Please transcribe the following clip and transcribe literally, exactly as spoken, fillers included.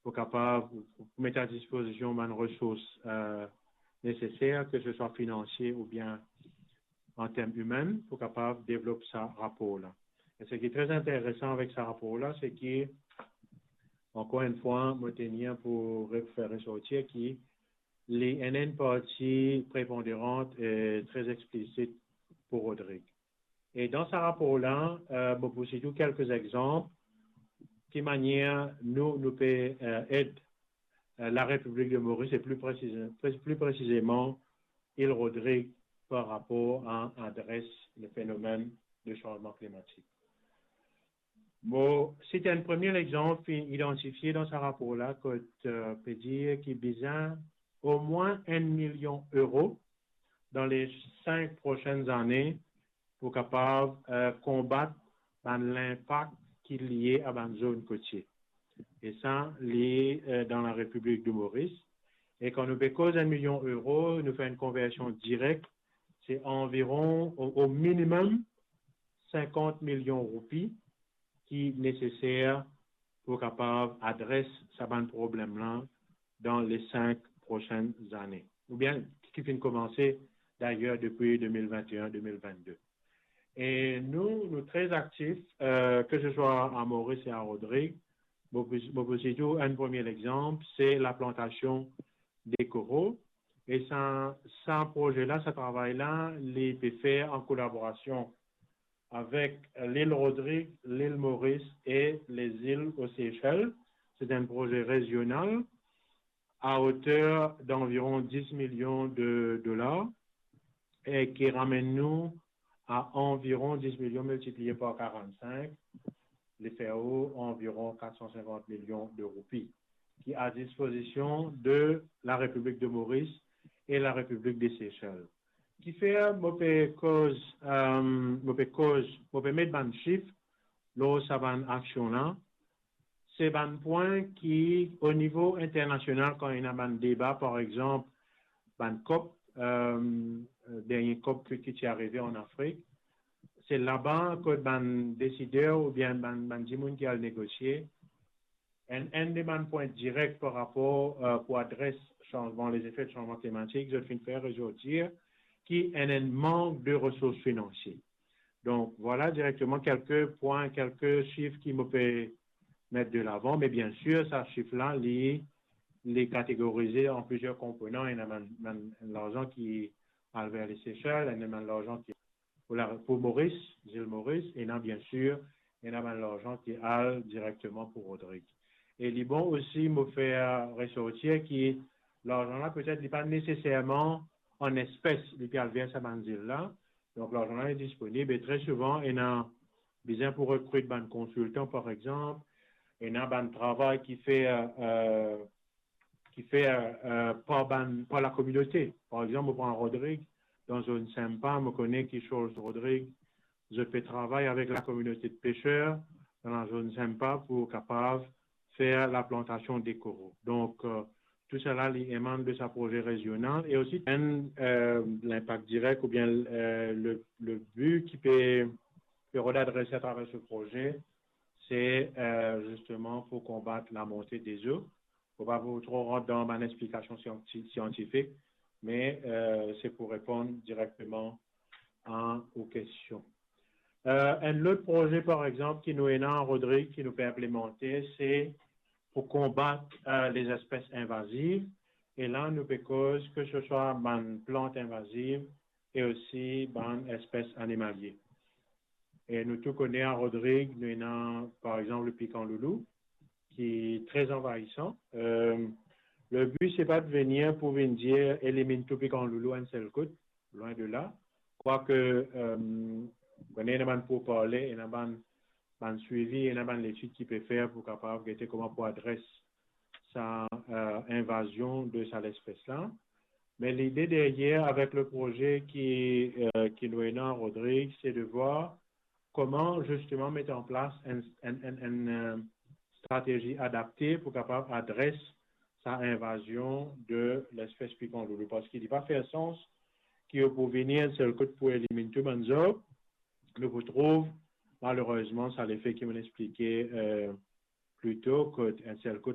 pou kapav, pou met a dispozision bann resours, euh, neseser, ke se swa finansie oubien an term imin, pou kapav devlop sa rapor la. E seki tre interesan avek sa rapor la, se ki, ankor enn fwa, mo tenir pou re-, fer resortir ki li ena enn parti preponderan e tre eksplisit pou Rodrig. E dan sa rapor la, euh, mo pou site kelke exanp ki manier nou, nou pe, euh, ed, euh, la République de Maurice e pli presize-, pre-, pli presizeman Ile Rodrig par rapor a adres le fenomenn de sanzman klimatik. Mo sit enn premie exanp finn idantifie dan sa rapor la, kot, euh, pe dir ki bizin omwin enn milion euro dan le sink prosenn zane pou kapav, euh, konbat bann linpak ki lie a bann zonn kotie. E sa, li, euh, dan la République de Maurice. E kan nou pe koz enn milion euro, nou fer enn konversion direk, se anviron, o, o minimem, sinkant milion roupi ki neseser pou kapav adres sa bann problem la dan le sink prosenn zane. Oubien ki finn koumanse, dayer, depi de mil vinte e enn, de mil vennde. E nou, nou tre aktif, euh, ke se swa a Moris e a Rodrig. Mo pou, mo pou sitou enn premie exanp, se laplantasion de koro. E sa, sa proze la, sa travay la, li pe fer an kolaborasion avek Lil Rodrig, Lil Moris e lezil o Sesel. Se enn proze rezional a oter d'anviron dis milion de dolar e ki ramenn nou a anviron dis milion miltiplie par karant-sink, li fer ou anviron kat san sinkant milion de roupi, ki a dispozision de la République de Maurice e la République des Seychelles. Kifer mo pe koz, euh, mo pe koz, mo pe met bann sif lor sa bann aksion la, se bann pwin ki, o nivo internasional, kan ena bann deba, par exanp, bann COP, euh, dernie COP ki, ki ti arive an Afrik, se laba kot bann desider oubien bann, bann dimoun ki al negosie, enn, enn de bann pwin direk par rapor, euh, pou adres sanzman, lezefe sanzman klimatik, zot finn fer rezortir ki ena enn mank de resours finansie. Donk, vwala direkteman kelke pwin, kelke sif ki mo pe met de lavan, me biensir, sa sif la, li, li kategorize an plizier konponan. Ena bann, bann larzan ki al ver Lesesel, ena bann larzan ki pou la, pou Moris, Zil Moris, ena biensir, ena bann larzan ki al direkteman pou Rodrig. E li bon osi mo fer resortir ki larzan la, petet, li pa neseserman an espes, li pe al ver sa bann zil la. Donk, larzan la li disponib e tre souvan, ena bizin pou rekrit bann konsiltan, par exanp, ena bann travay ki fer, euh, ki fer, euh, par bann, par lakominote. Par exanp, mo pran Rodrig, dan zone Sempa, mo kone ki Charles Rodrig, zot pe travay avek lakominote de peser dan la zone Sempa pou kapav fer laplantasion de koro. Donk, euh, tou sala, li emann de sa proze rezional e osi enn, euh, linpak direk oubien, euh, le, le bi ki pe, pe rod adrese atraver se proze, se, euh, zisteman pou konbat lamonte de zo. Mo pa pou tro rant dan bann explikasion sianti-, siantifik, me, euh, se pou reponn direkteman a ou kestion. Euh, enn lot proze, par exanp, ki nou ena, Rodrig, ki nou pe inplimante, se pou konbat, euh, lezespes invaziv. E la, nou pe koz ke se swa bann plant invaziv e osi bann espes animalie. E nou tou kone a Rodrig, nou ena, par exanp, le pikan loulou, ki tre anvayisan. Euh, le bi, se pa de vini pou vinn dir, eliminn tou pikan loulou enn sel kout, lwin de la. Kwake, euh, kone ena bann pourparle, ena bann, bann swivi, ena bann letid ki pe fer pou kapav gete kouma pou adres sa, euh, invazion de sa lespes la. Me lide deryer avek le proze ki, euh, ki nou ena, Rodrig, se de vwar kouma zisteman met an plas enn, enn, enn, enn, euh, stratezi adapte pou kapav adres sa invazion de lespes pikan loulou. Parski li pa fer sans ki ou pou vini enn sel kout pou eliminn tou bann zarb. Nou pou trouv, malerezman, sa lefe ki mo'nn explike, euh, pli to, kot enn sel kout